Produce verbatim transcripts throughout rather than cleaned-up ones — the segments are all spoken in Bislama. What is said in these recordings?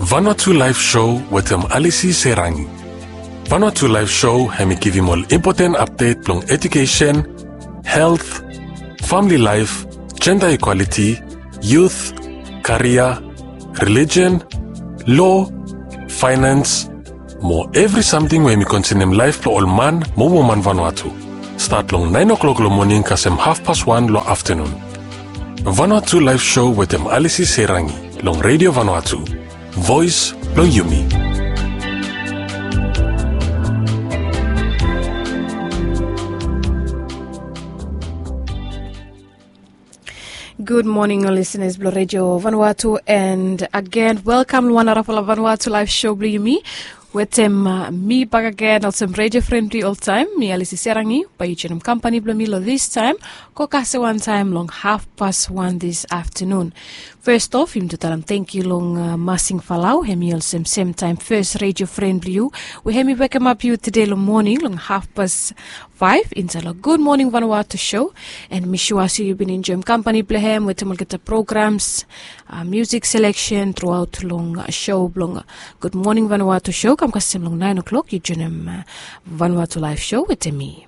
Vanuatu Live Show wetem Alisi Serangi. Vanuatu Live Show hemi givim ol impoten apdet blong edukesen, helt, famili laef, jenda ikwaliti, yut, karia, relijen, lo, faenans, mo evri samting we hemi konsenem laef blong ol man mo woman Vanuatu. Stat long naen o'klok long moning kasem hafpas wan long aftanun. Vanuatu Live Show wetem Alisi Serangi long Redio Vanuatu, voes blong yumi. Gud moning ol lisenas blong Redio Vanuatu, and agen welkam long wan narafala Vanuatu Live Show blong yumi. Wetem mi bakegen olsem redio fren blong yu oltaem, mi Alisi Serangi. Bae yu joenem kampani blong mi long distaem go kasem wantaem long hafpas wan dis aftanun. Fes of yumi tu talem tangkiu long Masing Falau, hemi olsem semtaem fes redio fren blong yu we hemi wekemap yu tede long moning long hafpas faef insaed long Gud Moning Vanuatu Show. And mi sua se yu bin enjoem kampani blong hem wetem olgeta programs, musik seleksen truaot long show blong Gud Moning Vanuatu Show kam kasem long naen o'klok yu joenem Vanuatu Live Show wetem mi.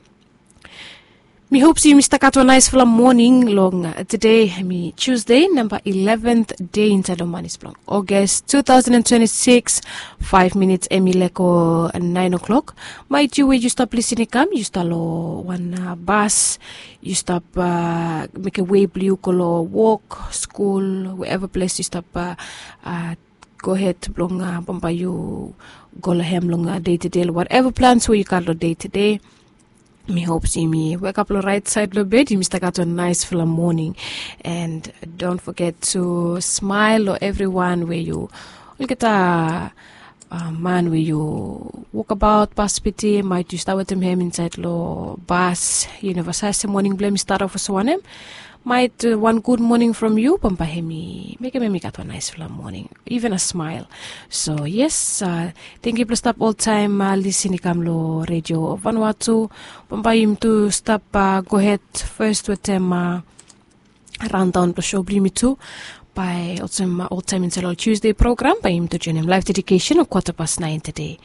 Mi hop se yumi stap gat wan naesfala moning long tede, hemi Tusde namba ileven dei insaed long manis blong Ogas tu taosen twenti sikis. Faef minits hemi lego naen o'klok. Maet yu we yu stap lisin i kam, yu stap long wan bas, yu stap mekem wei blong yu go long wok, skul, wherever ples yu stap gohed blong bambae yu go long hem long dei tede long whatever plans we yu gat long dei tede. Mi hop se yumi wekap long raet saed long bed, yumi stap gat wan naesfala moning. And don't forget to smile long evriwan we yu, olgeta man we yu wokbaot, bas piti, maet yu stap wetem hem insaed long bas, yu neva save se moning blong hem i stat of olsem wanem. Maet wan gud moning from yu bambae hemi mekem hem i gat wan naesfala moning, even a smile. So yes, tangkiu blong stap oltaem lisin i kam long Redio Vanuatu. Bambae yumi tu stap gohed fes wetem raondaon blong show blong yumi tu. Bae olsem oltaem insaed long ol Tusde program bae yumi tu joenem laef dedikesen long kwata pas naen tede.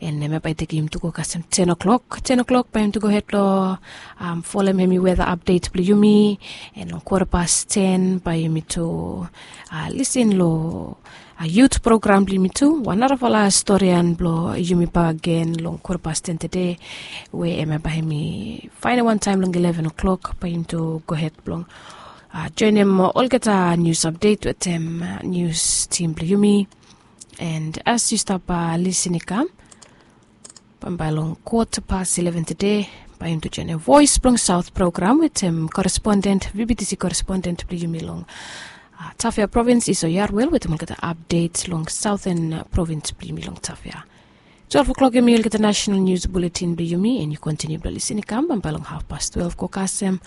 And hemia bae i tekem yumi tu go kasem ten o'klok. Ten o'klok bae yumi tu gohed long folem hemi weta apdet blong yumi. And long kwata pas ten bae yumi tu lisin long yut program blong yumi tu, wan narafala storian blong yumi bakegen long kwata pas ten tede, we hemia bae hemi faenem wantaem long ileven o'klok bae yumi tu gohed blong joenem olgeta nius apdet wetem nius tim blong yumi. And as yu stap lisin i kam, bambae long kwata pas ileven tede bae yumi tu joenem Voes blong Saot program wetem koresponden, VBTC koresponden blong yumi long Tafea provins, Iso Yarwel, wetem olgeta apdet long saoten provins blong yumi long Tafea. Twelef o'klok hemi olgeta nasenal nius buletin blong yumi, and yu kontiniu blong lisin i kam bambae long hafpas twelef go kasem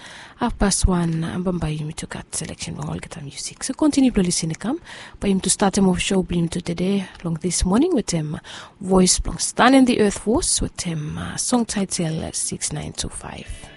hafpas wan, bambae yumi tu gat seleksen blong olgeta musik. So kontiniu blong lisin i kam. Bae yumi tu statem of show blong yumi tu tede long dis moning wetem voes blong Stan and the Earth Force wetem song taetel sikis naen tu faef.